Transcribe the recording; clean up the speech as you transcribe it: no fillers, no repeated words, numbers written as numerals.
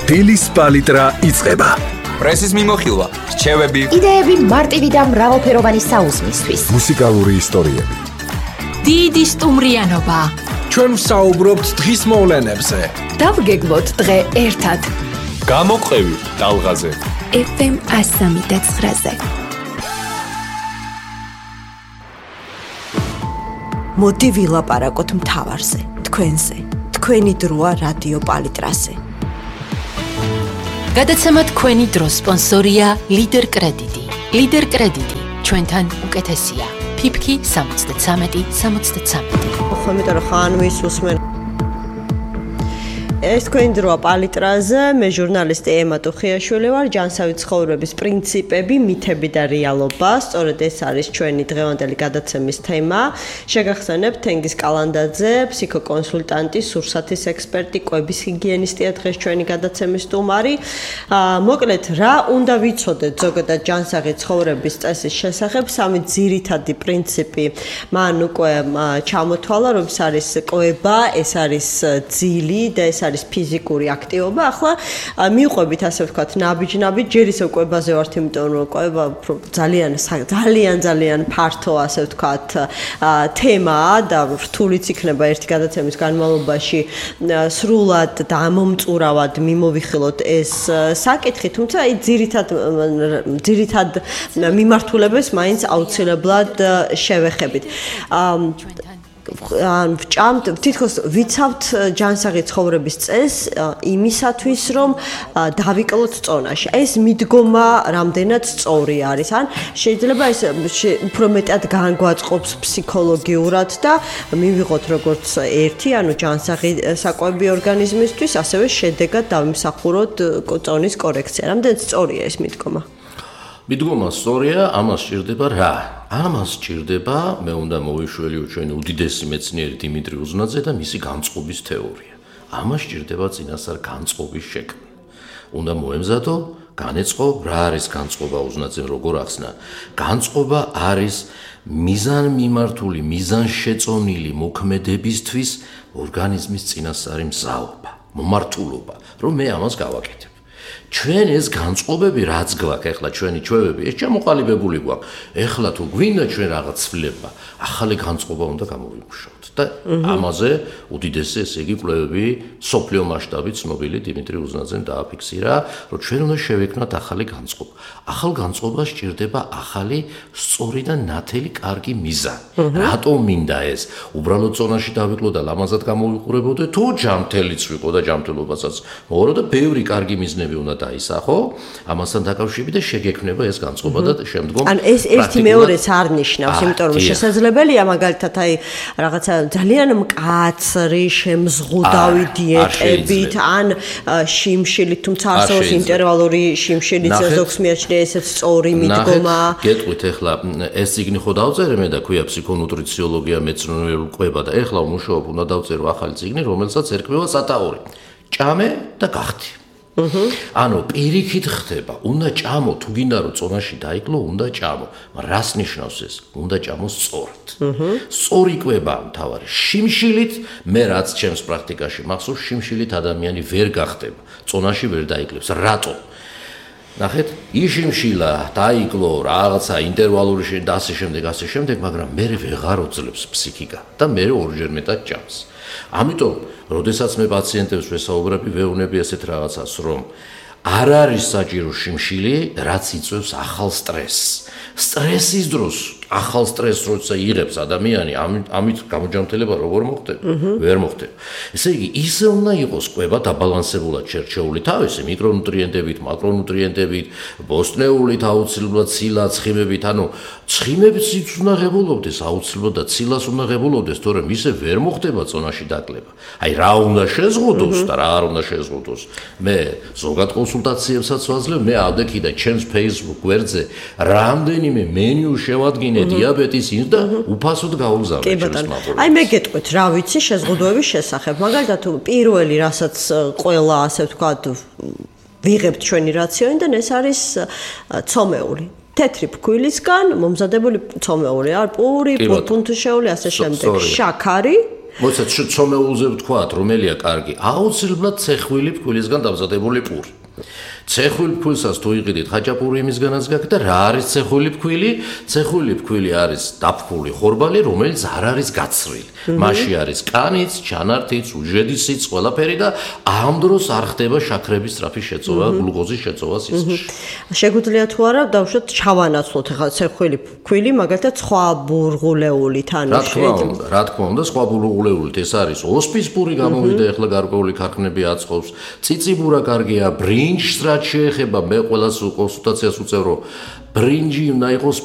დილის პალიტრა იწყება. პრესის მიმოხილვა, რჩევები, იდეები მარტივი და მრავალფეროვანი საუზმისთვის. მუსიკალური ისტორიები. დიდი სტუმრიანობა. ჩვენ ვსაუბრობთ დღის მოვლენებზე. დავგეგმოთ დღე ერთად. გამოყევი ტალღაზე. FM 103.9-ზე. მოდი ვილაპარაკოთ მთავარზე, თქვენზე. თქვენი დროა რადიო პალიტრაზე. გადაცემა თქვენი დრო სპონსორია ლიდერ კრედიტი. ლიდერ კრედიტი ჩვენთან უკეთესია. ფიფკი 73-63. ხო, იმიტომ რომ ხანვის უსმენ. ეს თქვენი დროა პალიტრაზე, მე ჟურნალისტი ემა ტუხიაშვილი ვარ, ჯანსავი ცხოვრების პრინციპები, მითები და რეალობა. სწორედ ეს არის ჩვენი დღევანდელი გადაცემის თემა. შეგახსენებთ თენგიზ კალანდაძე, ფსიქოკონსულტანტი, სურსათის ექსპერტი, კვების ჰიგიენისტია დღეს ჩვენი გადაცემის სტუმარი. მოკლედ, რა უნდა ვიცოდეთ ზოგადად ჯანსაღი ცხოვრების წესის შესახებ? სამი ძირითადი პრინციპი მან უკვე ჩამოთვალა, რომ ეს არის კვება, ეს არის ძილი და ეს არის ფიზიკური აქტივობა. ახლა მივყვებით ასე ვთქვათ ნაბიჯ-ნაბიჯ, ჯერ ისევ კვებაზე ვართ, იმიტომ რომ კვება ძალიან ფართო ასე ვთქვათ თემაა და რთულიც იქნება ერთი გადაცემის განმავლობაში სრულად და ამომწურავად მიმოვიხილოთ ეს საკითხი, თუმცა აი ძირითად მიმართულებას მაინც აუცილებლად შევეხებით. ვჭამთ, თითქოს ვიცავთ ჯანსაღი ცხოვრების წესს იმისათვის, რომ დავიკლოთ წონაში. ეს მიდგომა რამდენად სწორი არის, ან შეიძლება ეს უფრო მეტად განგვაწყობს ფსიქოლოგიურად და მივიღოთ როგორც ერთი, ანუ ჯანსაღი საკვები ორგანიზმისთვის, ასევე შედეგად დავიმსახუროთ წონის კორექცია. რამდენად სწორია ეს მიდგომა? მიდგომა სწორია, ამას სჭირდება რა? ამას სჭირდება, მე უნდა მოვიშველიო ჩვენი უდიდესი მეცნიერი დიმიტრი უზნაძე და მისი განწყობის თეორია. ამას სჭირდება წინასწარ განწყობის შექმნა. უნდა მოემზადო, განეწყო, რა არის განწყობა უზნაძემ როგორ ახსნა? განწყობა არის მიზანმიმართული, მიზანშეწონილი მოქმედებისთვის ორგანიზმის წინასწარი მზაობა, მომართულობა, რომ მე ამას გავაკეთებ. ჩვენ ეს განწყობები რაც გვაქვს, ეხლა ჩვენი ჩვევები, ეს ჩამოყალიბებული გვაქვს. ეხლა თუ გვინდა ჩვენ რაღაც ცვლილება, ახალი განწყობა უნდა გამოვიმუშავოთ. და ამაზე უდიდესი ესე იგი კვლევები სოფლიო მასშტაბით ცნობილი დიმიტრი უზნაძემ დააფიქსირა, რომ ჩვენ უნდა შევექმნათ ახალი განწყობა. ახალ განწყობას სჭირდება ახალი სწორი და ნათელი კარგი მიზანი. რატომ მინდა ეს? უბრალოდ წონაში დავიკლო და ლამაზად გამოვიყურებოდე, თუ ჯანმრთელიც ვიყო და ჯანმრთელობასაც მოვარო და ბევრი კარგი მიზნები უნდა დაისახო, ამასთან დაკავშირებით და შეგექმნება ეს განწყობა და შემდგომ ან ეს ერთი მეორეს არ ნიშნავს, იმიტომ რომ შესაძლებელია მაგალითად აი რაღაცა ძალიან მკაცრი შემზღუდავი დიეტებით ან შიმშილით, თუმცა არსებობს ინტერვალური შიმშილიც, ზოგს მიაჩნია ესეც სწორი მიდგომა. გეტყვით ეხლა ეს წიგნი ხო დავწერე მე და ქვია ფსიქონუტრიციოლოგია, მეცნიერული კვება და ეხლა ვმუშაობ, უნდა დავწერო ახალი წიგნი, რომელსაც ერქმევა სათაური. ჭამე და გახდი. ანუ პირიქით ხდება, უნდა ჭამო, თუ გინდა რომ წონაში დაიკლო, უნდა ჭამო. მაგრამ რას ნიშნავს ეს? უნდა ჭამო სწორად. სწორი კვება მთავარი. შიმშილით, მე რაც ჩემს პრაქტიკაში მახსოვს, შიმშილით ადამიანი ვერ გახდება, წონაში ვერ დაიკლებს. რატომ? ნახეთ, იშიმშილა, დაიკლო, რაღაცა ინტერვალური და ასე შემდეგ, მაგრამ მე ვეღარ ოძლებს ფსიქიკა და მე ორჯერ მეტად ჭამს. ამიტომ, როდესაც მე პაციენტებს ვესაუბრები, ვეუბნები ესეთ რაღაცას, რომ არ არის საჭირო შიმშილი, რაც იწვევს ახალ სტრესს. სტრესის დროს ახალ სტრესს როცა იღებს ადამიანი, ამით გამოჯანმრთელება როგორ მოხდება? ვერ მოხდება. ესე იგი, ისე უნდა იყოს კვება დაბალანსებულად შერჩეული თავისი მიკრონუტრიენტებით, მაკრონუტრიენტებით, ბოსტნეულით, აუცილებლად ცილა, ცხიმებით, ანუ ცხიმებს უნდა ღებულობდეს აუცილებლად და ცილას უნდა ღებულობდეს, თორემ ისე ვერ მოხდება წონაში დაკლება. აი რა უნდა შეზღუდოს და რა არ უნდა შეზღუდოს. მე ზოგად კონსულტაციებსაც ვაძლევ, მე ავდექი და ჩემს Facebook გვერდზე რამდენიმე მენიუ შევადგინე დიაბეტის ინს და უფასოდ გაუგზავნე ჩემს მაყურებელს. აი მე გეტყვით, რა ვიცი შეზღუდვების შესახებ. მაგალითად, პირველი რასაც ყველა ასე ვთქვათ ვიღებთ ჩვენი რაციონიდან, ეს არის ცომეული. თეთრი ფქვილისგან მომზადებული ცომეული, არ პური, ფუნთუშეული, ასე შემდეგ. შაქარი მოიცათ ცომეულზე ვთქვათ, რომელია კარგი, აუცილებლად ცეხვილი ფქვილისგან დამზადებული პური. ცეხვილი ფქვილსაც თუ იყიდით, ხაჭაპური იმისგანაც გაქვს და რა არის ცეხვილი ფქვილი? ცეხვილი ფქვილი არის დაფქული ხორბალი, რომელიც არ არის გაცრილი. მასში არის კანიც, ჩანართიც, უჯედისიც, ყველაფერი და ამ დროს არ ხდება შაქრების სწრაფი შეწოვა, გლუკოზის შეწოვა სისხლში. შეგვიძლია თუ არა დავუშვათ ჩავანაცვლოთ ახლა ცეხვილი ფქვილი, მაგალითად სხვა ბურღულეულით ანუ რა თქმა უნდა, სხვა ბურღულეულით ეს არის ოსპის პური გამოვიდა, ახლა გარკვეული ქარხნები აწყობს. წიწიბურა კარგია, ბრინჯს რაც შეეხება, მე ყველას კონსულტაციას უწევ, რომ ბრინჯი უნდა იყოს